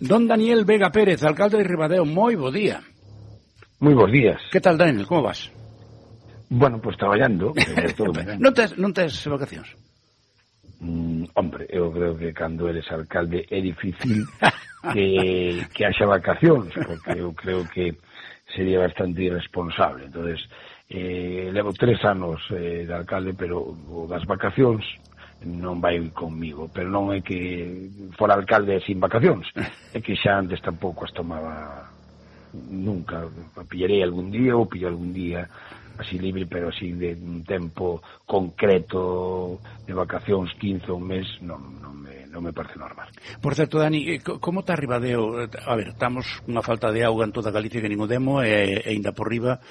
Don Daniel Vega Pérez, alcalde de Ribadeo, moi bo día. Moi bons días. Que tal, Daniel, como vas? Bueno, pues traballando. Non tes vacacións? Hombre, eu creo que cando eres alcalde é difícil que haxa vacacións, porque eu creo que sería bastante irresponsable. Entonces, levo 3 anos de alcalde, pero das vacacións non vai comigo, pero non é que fora alcalde sin vacacións, é que xa antes tampouco as tomaba nunca. Pillarei algún día ou pillo algún día así libre, pero así de un tempo concreto de vacacións, 15 ou un mes, non me parece normal. Por certo, Dani, como está Ribadeo? A ver, estamos cunha falta de auga en toda Galicia que nin o demo, e ainda por riba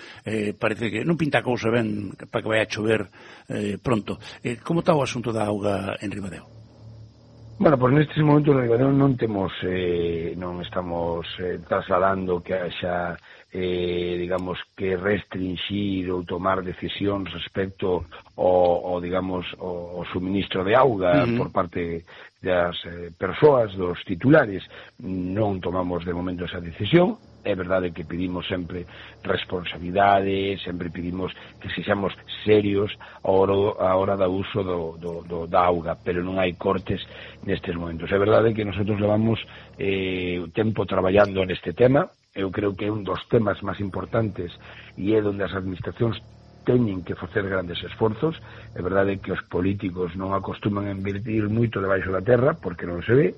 parece que non pinta a cousa ben para que vai a chover pronto. Como está o asunto da auga en Ribadeo? Bueno, pues nestes momentos en Ribadeo non estamos trasladando que haxa digamos que restringir ou tomar decisións respecto ao digamos ao suministro de auga por parte das persoas, dos titulares. Non tomamos de momento esa decisión. É verdade que pedimos sempre responsabilidade, sempre pedimos que sexamos serios a hora do uso da auga, pero non hai cortes nestes momentos. É verdade que nosotros levamos tempo traballando neste tema. Eu creo que é un dos temas máis importantes e é onde as administracións teñen que facer grandes esforzos. É verdade que os políticos non acostuman a invertir moito debaixo da terra porque non se ve,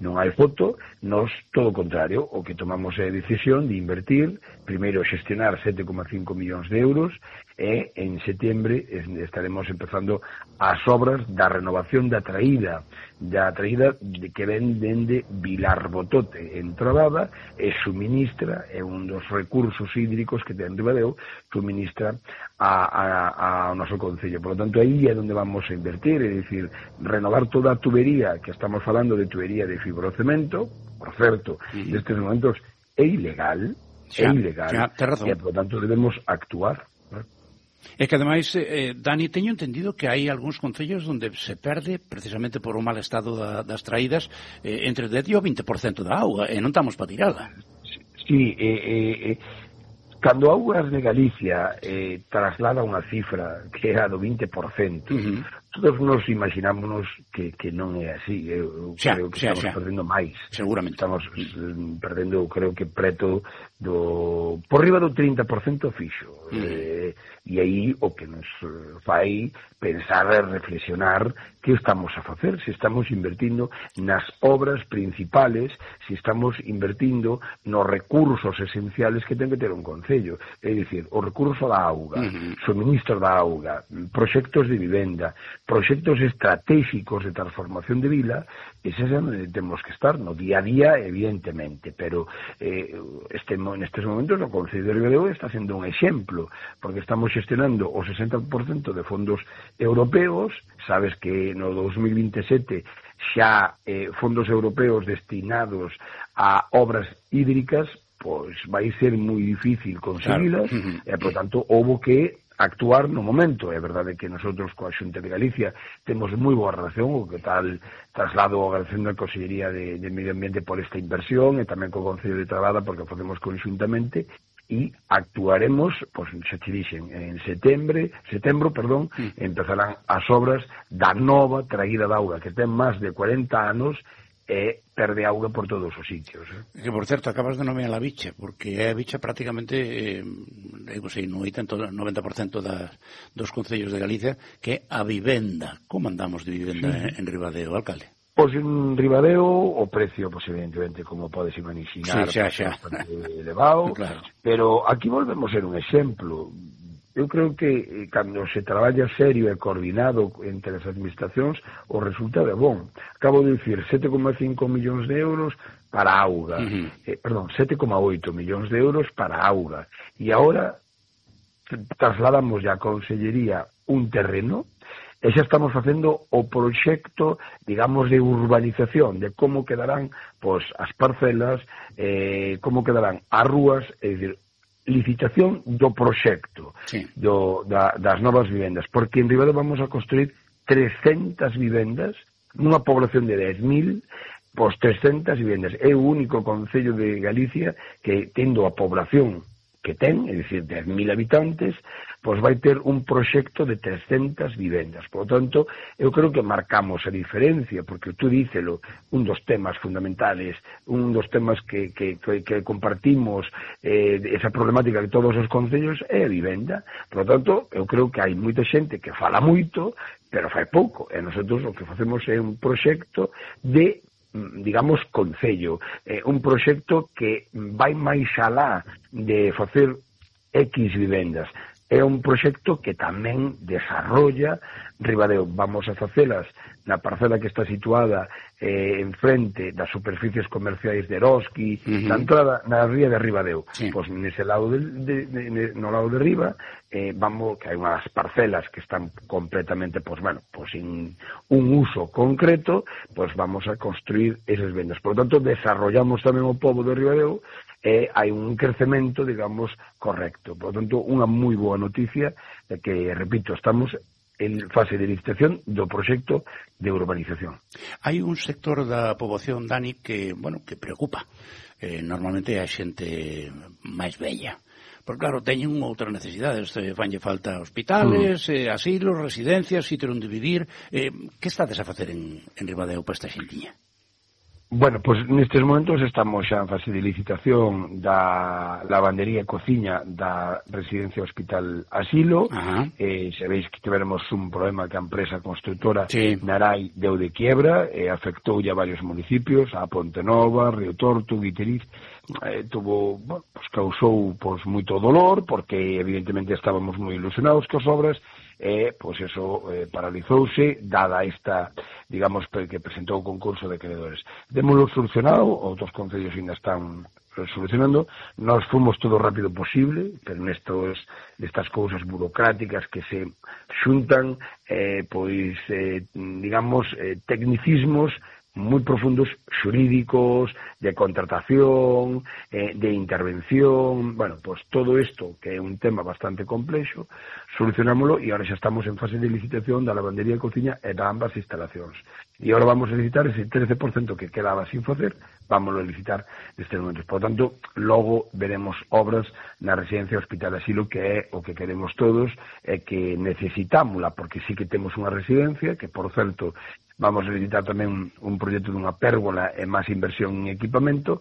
non hai foto. Nos, todo o contrario, o que tomamos é a decisión de invertir, primeiro xestionar 7,5 millóns de euros, e en setembro estaremos empezando as obras da renovación da traída que ven dende Vilarbotote en Trabada, e suministra, é un dos recursos hídricos que ten Ribadeo, suministra ao noso concello. Por lo tanto, aí é onde vamos a invertir, é dicir, renovar toda a tubería, que estamos falando de tubería de fibrocemento, por certo, nestes momentos é ilegal, e, por lo tanto, debemos actuar. É que, ademais, Dani, teño entendido que hai algúns concellos onde se perde, precisamente por o mal estado das traídas, entre o 10 e o 20% da auga, e non estamos para tirala. Sí, cando Augas de Galicia traslada unha cifra que é a do 20%, todos nos imaginámonos que non é así. Eu creo que estamos perdendo máis. Seguramente. Estamos perdendo, creo que preto por riba do 30% fixo. E aí o que nos fai pensar e reflexionar que estamos a facer, se estamos invertindo nas obras principales, se estamos invertindo nos recursos esenciales que ten que ter un concello, é dicir, o recurso da auga, suministro da auga, proxectos de vivenda, proxectos estratégicos de transformación de vila. Eses é onde temos que estar no día a día, evidentemente, pero nestes momentos o Concello de Ribadeo está sendo un exemplo, porque estamos xestionando o 60% de fondos europeos. Sabes que no 2027 xa fondos europeos destinados a obras hídricas, pois vai ser moi difícil conseguilas, e, por tanto, houbo que actuar no momento. É verdade que nosotros coa Xunta de Galicia temos moi boa relación, o que tal traslado a agradecendo a Consellería de Medio Ambiente por esta inversión, e tamén co Concello de Trabada, porque o facemos conxuntamente, e actuaremos, pois, xa te dixen, en setembro, empezarán as obras da nova traída de auga, que ten máis de 40 anos, e perde auga por todos os sitios. Que, por certo, acabas de nomear a bicha, porque é a bicha prácticamente, no 90% dos concellos de Galicia, que é a vivenda. Como andamos de vivenda en Ribadeo, alcalde? Pois en Ribadeo o precio, pois evidentemente, como podes imaginar, xa. bastante elevado, claro. Pero aquí volvemos a ser un exemplo. Eu creo que cando se traballa serio e coordinado entre as administracións, o resultado é bon. Acabo de dicir 7,5 millóns de euros para a auga, 7,8 millóns de euros para a auga, e agora trasladamos a Consellería un terreno, e xa estamos facendo o proxecto, digamos, de urbanización, de como quedarán pois as parcelas, como quedarán as rúas, é dicir, licitación do proxecto, das novas vivendas, porque en Ribadeo vamos a construir 300 vivendas nunha población de 10.000, pois 300 vivendas. É o único concello de Galicia que, tendo a población que ten, é dicir, 10.000 habitantes, pois vai ter un proxecto de 300 vivendas. Por lo tanto, eu creo que marcamos a diferencia, porque tú dícelo, un dos temas fundamentales, un dos temas que compartimos, esa problemática de todos os concellos é a vivenda. Por lo tanto, eu creo que hai moita xente que fala moito, pero fai pouco. E nosotros o que facemos é un proxecto de, digamos, concello, un proxecto que vai máis alá de facer X vivendas. É un proxecto que tamén desarrolla Ribadeo. Vamos a facelas na parcela que está situada en frente das superficies comerciais de Eroski, na entrada na ría de Ribadeo. Sí. Pois nese lado no lado de riba, vamos, que hai unhas parcelas que están completamente, sin un uso concreto, pois vamos a construir esas vendas. Por lo tanto, desarrollamos tamén o pobo de Ribadeo, hai un crecemento, digamos, correcto. Por lo tanto, unha moi boa noticia de que, repito, estamos en fase de licitación do proxecto de urbanización. Hai un sector da poboación, Dani, que preocupa. Normalmente é a xente máis bella. Porque, claro, teñen outras necesidades. Fanlle falta hospitales, asilos, residencias, sitio onde vivir. Que estades a facer en Ribadeo para esta xentiña? Bueno, pois nestes momentos estamos xa en fase de licitación da lavandería e cociña da residencia hospital asilo. Sabéis que tivemos un problema que a empresa constructora Narai deu de quiebra e afectou a varios municipios, a Ponte Nova, Río Torto, Guiteriz. Causou moito dolor, porque evidentemente estábamos moi ilusionados coas obras, pois eso paralizouse, dada esta, digamos, que presentou o concurso de acreedores. Démoslo solucionado, outros concellos ainda están solucionando. Nós fomos todo o rápido posible, pero nestas cousas burocráticas que se xuntan, digamos, tecnicismos moi profundos, xurídicos, de contratación, de intervención. Todo isto, que é un tema bastante complexo, solucionámoslo, e agora xa estamos en fase de licitación da lavandería e cociña e da ambas instalacións. E agora vamos a licitar ese 13% que quedaba sin facer, vamos a licitar nestes momentos. Por tanto, logo veremos obras na residencia hospital asilo, que é o que queremos todos, e que necesitámola, porque sí que temos unha residencia, que, por certo, vamos a licitar tamén un proxecto dunha pérgola e máis inversión en equipamento,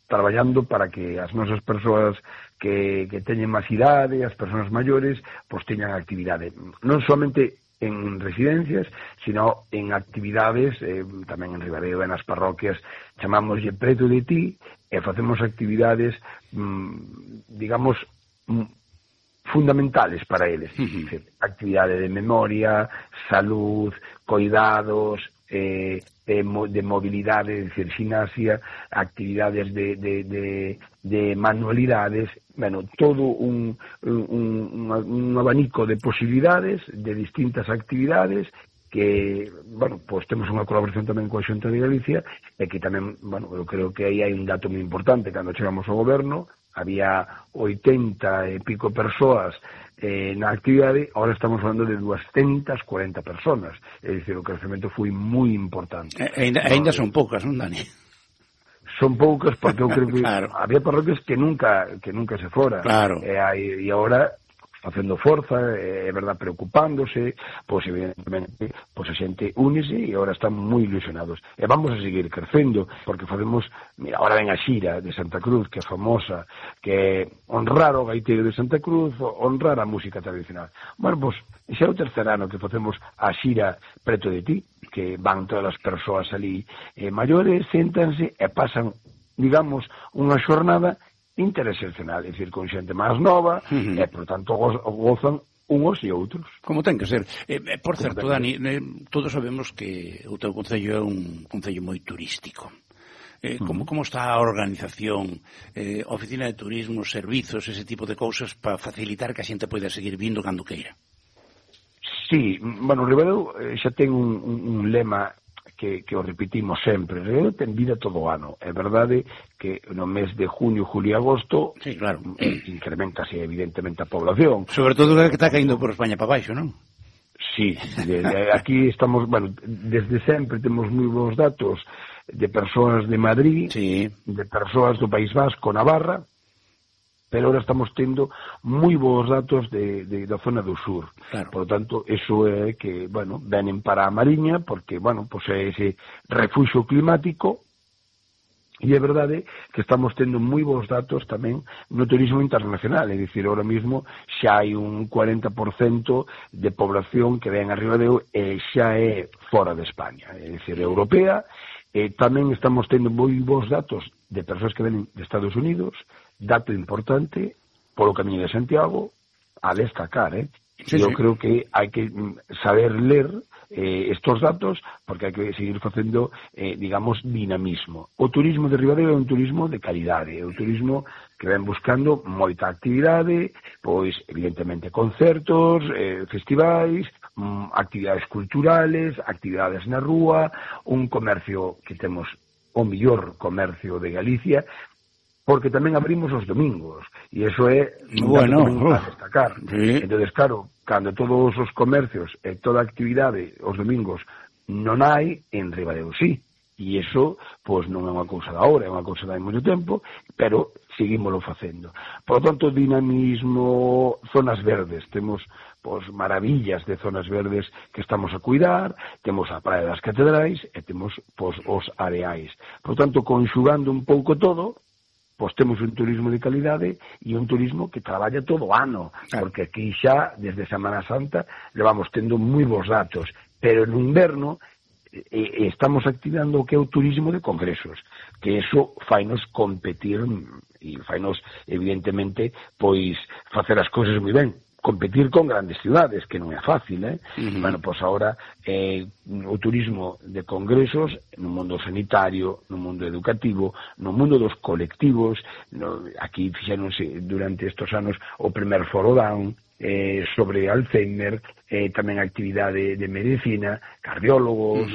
traballando para que as nosas persoas que teñen máis idade, as persoas maiores, teñan actividade. Non somente en residencias, sino en actividades, tamén en Ribadeo, nas parroquias, chamámoslle Preto de Ti, e facemos actividades, digamos, fundamentales para eles. Actividade de memoria, salud, cuidados, de mobilidade, de gimnasia, actividades de manualidades, todo un abanico de posibilidades, de distintas actividades, que, temos unha colaboración tamén coa Xunta de Galicia, e que tamén, eu creo que aí hai un dato moi importante. Cando chegamos ao goberno, había 80 e pico persoas na actividade, ahora estamos falando de 240 personas. É dicir, o crecemento foi moi importante. Ainda son poucas, non, Dani? Son poucas, porque eu creo que había parroquias que nunca se fora. E agora, facendo forza, é verdad, preocupándose, evidentemente, a xente únese, e agora están moi ilusionados. E vamos a seguir crecendo, porque facemos, mira, agora ven a xira de Santa Cruz, que é famosa, que é honrar o gaiteiro de Santa Cruz, honrar a música tradicional. Ese é o tercer ano que facemos a xira Preto de Ti, que van todas as persoas ali maiores, séntanse e pasan, digamos, unha xornada intereseccional, é dicir, con xente máis nova, e, por tanto, gozan uns e outros. Como ten que ser. Por certo, Dani, todos sabemos que o teu concello é un concello moi turístico. Como está a organización, oficina de turismo, servizos, ese tipo de cousas, para facilitar que a xente poida seguir vindo cando queira? Sí, Ribadeo xa ten un lema que o repetimos sempre. Ribadeo ten vida todo o ano. É verdade que no mes de junio, julio e agosto incrementase evidentemente a población. Sobre todo que está caindo por España para baixo, non? Sí, aquí estamos, bueno, desde sempre temos moi bons datos de persoas de Madrid, sí, de persoas do País Vasco, Navarra, pero ahora estamos tendo moi bons datos da zona do sur. claro. Por lo tanto, eso é que, bueno, venen para a Mariña, porque, bueno, pues é ese refuxo climático. E é verdade que estamos tendo moi bons datos tamén no turismo internacional, é dicir, ahora mesmo xa hai un 40% de población que ven a Ribadeo e xa é fora de España, é dicir, europea, e tamén estamos tendo moi bons datos de persoas que venen de Estados Unidos, dato importante, polo Camiño de Santiago, a destacar, Sí, eu sí. creo que hai que saber ler estos datos porque hai que seguir facendo, digamos, dinamismo. O turismo de Ribadeo é un turismo de calidade, é un turismo que ven buscando moita actividade, pois, evidentemente, concertos, festivais, actividades culturales, actividades na rúa, un comercio que temos o mellor comercio de Galicia, porque tamén abrimos os domingos, e iso é bueno, a destacar. Sí. Entonces, claro, cando todos os comercios e toda a actividade os domingos non hai, en Ribadeo sí, e iso, pois, non é unha cousa da hora, é unha cousa de hai moito tempo, pero seguímolo facendo. Por lo tanto, dinamismo, zonas verdes, temos, pois, maravillas de zonas verdes que estamos a cuidar, temos a Praia das Catedrais e temos, pois, os areais. Por lo tanto, conxugando un pouco todo, pois temos un turismo de calidade e un turismo que traballa todo o ano, porque aquí xa, desde Semana Santa, levamos tendo moi bons datos, pero no inverno estamos activando o que é o turismo de congresos, que eso fainos competir e fainos, evidentemente, pois facer as cousas moi ben, competir con grandes ciudades, que non é fácil, Bueno, pois agora o turismo de congresos no mundo sanitario, no mundo educativo, no mundo dos colectivos, aquí fixéronse durante estes anos o primer Foro Down sobre Alzheimer, tamén actividade de medicina, cardiólogos,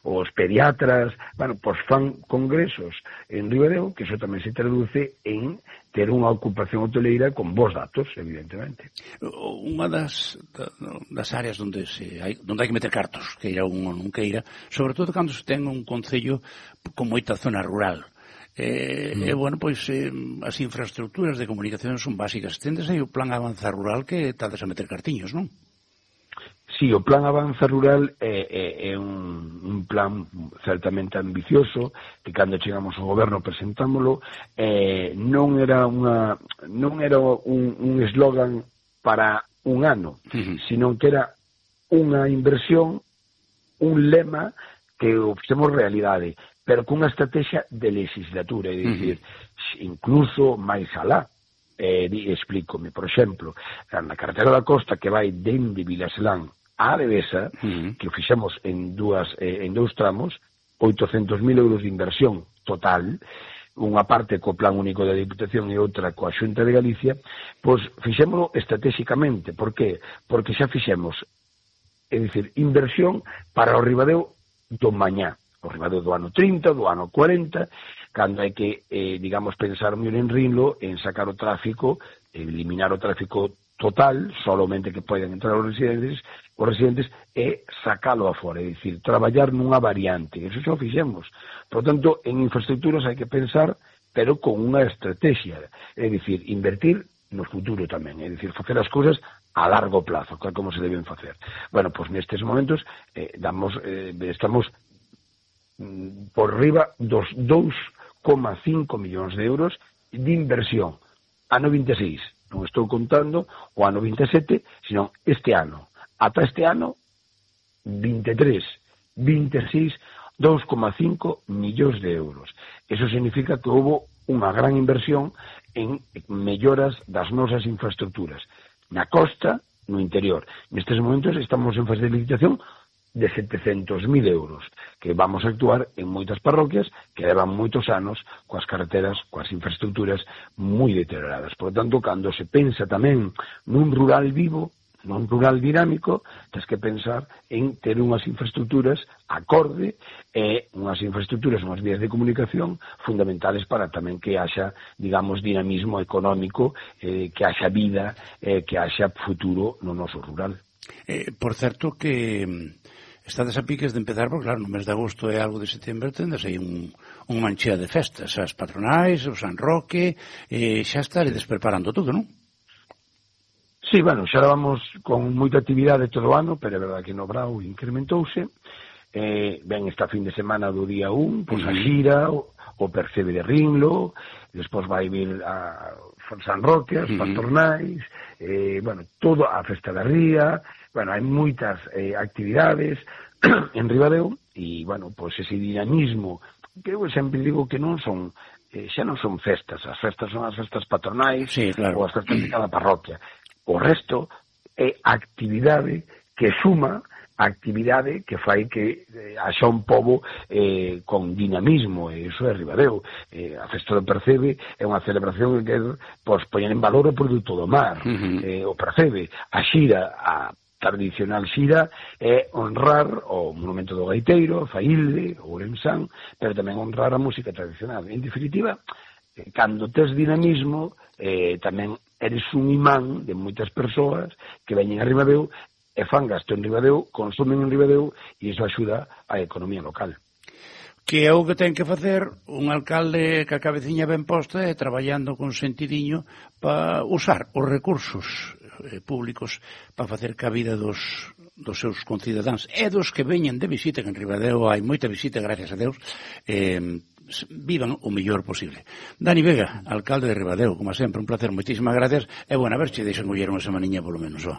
os pediatras, bueno, pois fan congresos en Ribadeo, que iso tamén se traduce en ter unha ocupación hoteleira con bons datos, evidentemente. Unha das áreas onde hai que meter cartos, queira un ou non queira, sobre todo cando se ten un concello con moita zona rural. Bueno, pois as infraestructuras de comunicación son básicas. Tendes aí o plan Avanza Rural que tades a meter cartiños, non? Sí, o plan Avanza Rural é un plan certamente ambicioso, que cando chegamos ao goberno presentámolo, non era un eslogan para un ano, sino que era unha inversión, un lema que o fixemos realidade, pero cunha estrategia de legislatura, é dicir, incluso máis alá. Explícome, por exemplo, na carretera da costa que vai dende Vilaselán a Devesa, que o fixemos en dous tramos, 800.000 euros de inversión total, unha parte co Plan Único da Diputación e outra coa Xunta de Galicia, pois fixémolo estratégicamente. Por qué? Porque xa fixemos, é dicir, inversión para o Ribadeo do mañá, o Ribadeo do ano 30, do ano 40, cando hai que, digamos, pensar mellor en Rinlo, en sacar o tráfico, eliminar o tráfico total, solamente que poden entrar os residentes e sacalo afora, é dicir, traballar nunha variante, eso xa o fixemos. Por tanto, en infraestructuras hai que pensar, pero con unha estrategia, é dicir, invertir no futuro tamén, é dicir, facer as cousas a largo plazo, como se deben facer. Bueno, pois nestes momentos estamos por riba dos 2,5 millóns de euros de inversión. Ano 26, non estou contando o ano 27, sino este ano. Ata este ano, 23, 26, 2,5 millóns de euros. Eso significa que houve unha gran inversión en melloras das nosas infraestructuras. Na costa, no interior. Nestes momentos estamos en fase de licitación de 700.000 euros, que vamos a actuar en moitas parroquias que levan moitos anos coas carreteras, coas infraestructuras moi deterioradas. Por lo tanto, cando se pensa tamén nun rural vivo, nun rural dinámico, tens que pensar en ter unhas infraestructuras acorde e unhas infraestructuras, unhas vías de comunicación fundamentales para tamén que haxa, digamos, dinamismo económico, que haxa vida, que haxa futuro no noso rural. Por certo que estades a piques de empezar, porque claro, no mes de agosto e algo de setembro tendes aí un manchea de festas, as patronais, o San Roque, xa estaredes preparando tudo, non? Sí, bueno, xa vamos con moita actividade todo o ano, pero é verdade que no Brao incrementouse. Ben esta fin de semana do día 1, pois a xira, o Percebe de Rinlo, despois vai vir a San Roque, as patronais, bueno, todo a Festa da Ría, bueno, hai moitas actividades en Ribadeo, e, bueno, pois ese dinamismo, que eu sempre digo que non son, xa non son festas, as festas son as festas patronais, sí, claro, ou as festas de cada parroquia. O resto é actividade que suma, actividade que fai que haxa un pobo con dinamismo, e iso é Ribadeo. A Festa do Percebe é unha celebración que pois, poñer en valor o produto do mar, o Percebe. A xira, a tradicional xira, é honrar o monumento do gaiteiro, Faílde, o Ourensán, pero tamén honrar a música tradicional. En definitiva, cando tes dinamismo, tamén eres un imán de moitas persoas que veñen a Ribadeo e fan gasto en Ribadeo, consumen en Ribadeo, e iso axuda á economía local. Que é o que ten que facer un alcalde que a cabeciña ben posta e traballando con sentidiño para usar os recursos públicos para facer cabida dos seus concidadáns e dos que veñen de visita, que en Ribadeo hai moita visita, gracias a Deus, vivan o mellor posible. Dani Vega, alcalde de Ribadeo, como sempre, un placer, moitísimas gracias, e bueno, a ver se deixan coller unha semaniña polo menos, ó.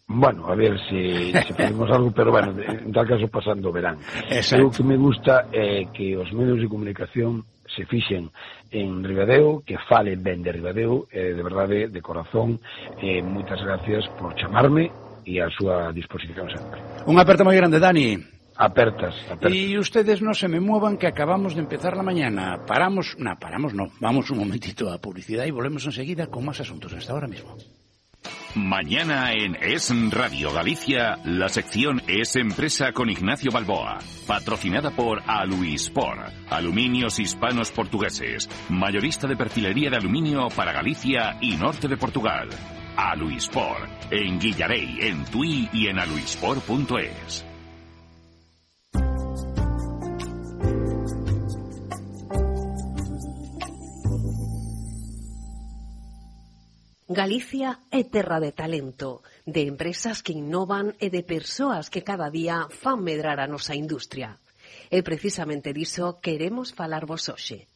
Bueno, a ver se podemos algo, pero bueno, en tal caso pasando o verán. Exacto. O que me gusta é que os medios de comunicación se fixen en Ribadeo, que falen ben de Ribadeo, de verdade, de corazón. Moitas gracias por chamarme e a súa disposición sempre. Un aperto moi grande, Dani. Apertas. Y ustedes no se me muevan, que acabamos de empezar la mañana. Paramos no, vamos un momentito a publicidad y volvemos enseguida con más asuntos. Hasta ahora mismo. Mañana en Es Radio Galicia, la sección Es Empresa con Ignacio Balboa, patrocinada por Aluispor, Aluminios Hispanos Portugueses, mayorista de perfilería de aluminio para Galicia y norte de Portugal. Aluispor, en Guillarey, en Tui y en aluispor.es. Galicia é terra de talento, de empresas que innovan e de persoas que cada día fan medrar a nosa industria. E precisamente diso queremos falarvos hoxe.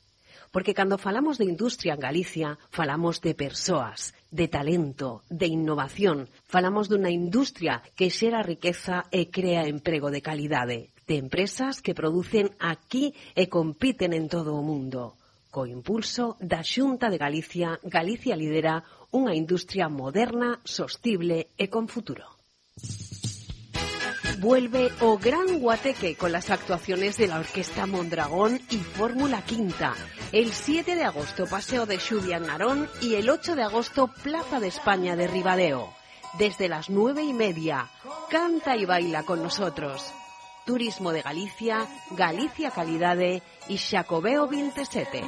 Porque cando falamos de industria en Galicia, falamos de persoas, de talento, de innovación. Falamos dunha industria que xera riqueza e crea emprego de calidade. De empresas que producen aquí e compiten en todo o mundo. Co impulso da Xunta de Galicia, Galicia lidera unha industria moderna, sostible e con futuro. Vuelve o Gran Guateque con las actuaciones de la Orquesta Mondragón y Fórmula Quinta. El 7 de agosto Paseo de Xubia en Narón y el 8 de agosto Plaza de España de Ribadeo. Desde las 9:30, canta y baila con nosotros. Turismo de Galicia, Galicia Calidade y Xacobeo 27.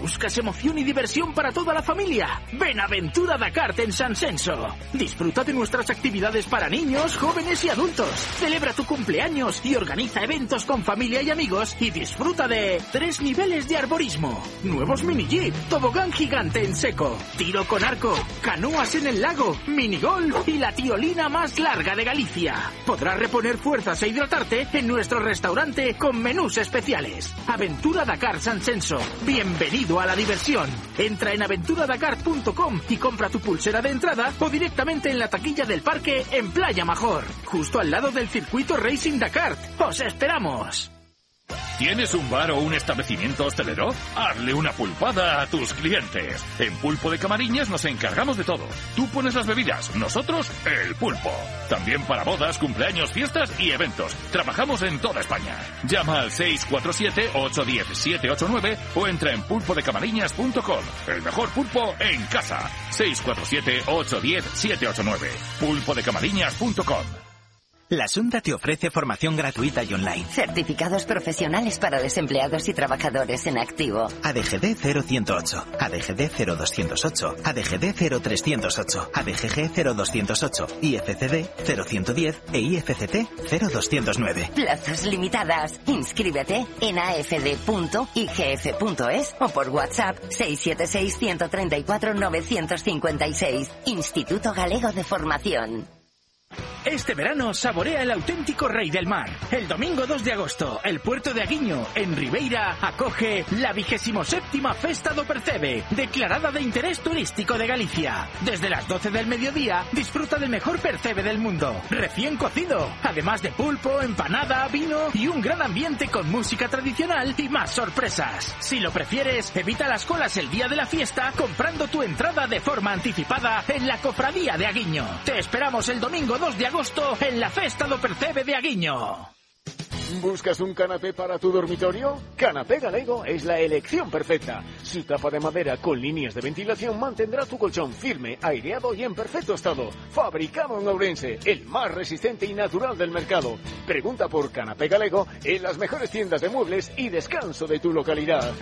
¿Buscas emoción y diversión para toda la familia? Ven a Aventura Dakar en San Censo. Disfruta de nuestras actividades para niños, jóvenes y adultos. Celebra tu cumpleaños y organiza eventos con familia y amigos y disfruta de 3 niveles de arborismo, nuevos mini jeep, tobogán gigante en seco, tiro con arco, canoas en el lago, minigolf y la tiolina más larga de Galicia. Podrás reponer fuerzas e hidratarte en nuestro restaurante con menús especiales. Aventura Dakar San Censo. Bienvenido a la diversión. Entra en aventuradakar.com y compra tu pulsera de entrada o directamente en la taquilla del parque en Playa Major, justo al lado del circuito Racing Dakar. ¡Os esperamos! ¿Tienes un bar o un establecimiento hostelero? Hazle una pulpada a tus clientes. En Pulpo de Camariñas nos encargamos de todo. Tú pones las bebidas, nosotros el pulpo. También para bodas, cumpleaños, fiestas y eventos. Trabajamos en toda España. Llama al 647-810-789 o entra en pulpodecamariñas.com. El mejor pulpo en casa. 647-810-789. pulpodecamariñas.com. La Xunta te ofrece formación gratuita y online. Certificados profesionales para desempleados y trabajadores en activo. ADGD 0108, ADGD 0208, ADGD 0308, ADGG 0208, IFCD 0110 e IFCT 0209. Plazas limitadas. Inscríbete en afd.igf.es o por WhatsApp 676 134 956. Instituto Galego de Formación. Este verano saborea el auténtico rey del mar. El domingo 2 de agosto, el puerto de Aguiño, en Ribeira, acoge la 27ª Festa do Percebe, declarada de interés turístico de Galicia. Desde las 12 del mediodía, disfruta del mejor percebe del mundo, recién cocido, además de pulpo, empanada, vino y un gran ambiente con música tradicional y más sorpresas. Si lo prefieres, evita las colas el día de la fiesta comprando tu entrada de forma anticipada en la Cofradía de Aguiño. Te esperamos el domingo 2 de agosto en la Festa do Percebe de Aguiño. ¿Buscas un canapé para tu dormitorio? Canapé Galego es la elección perfecta. Su tapa de madera con líneas de ventilación mantendrá tu colchón firme, aireado y en perfecto estado. Fabricado en Ourense, el más resistente y natural del mercado. Pregunta por Canapé Galego en las mejores tiendas de muebles y descanso de tu localidad.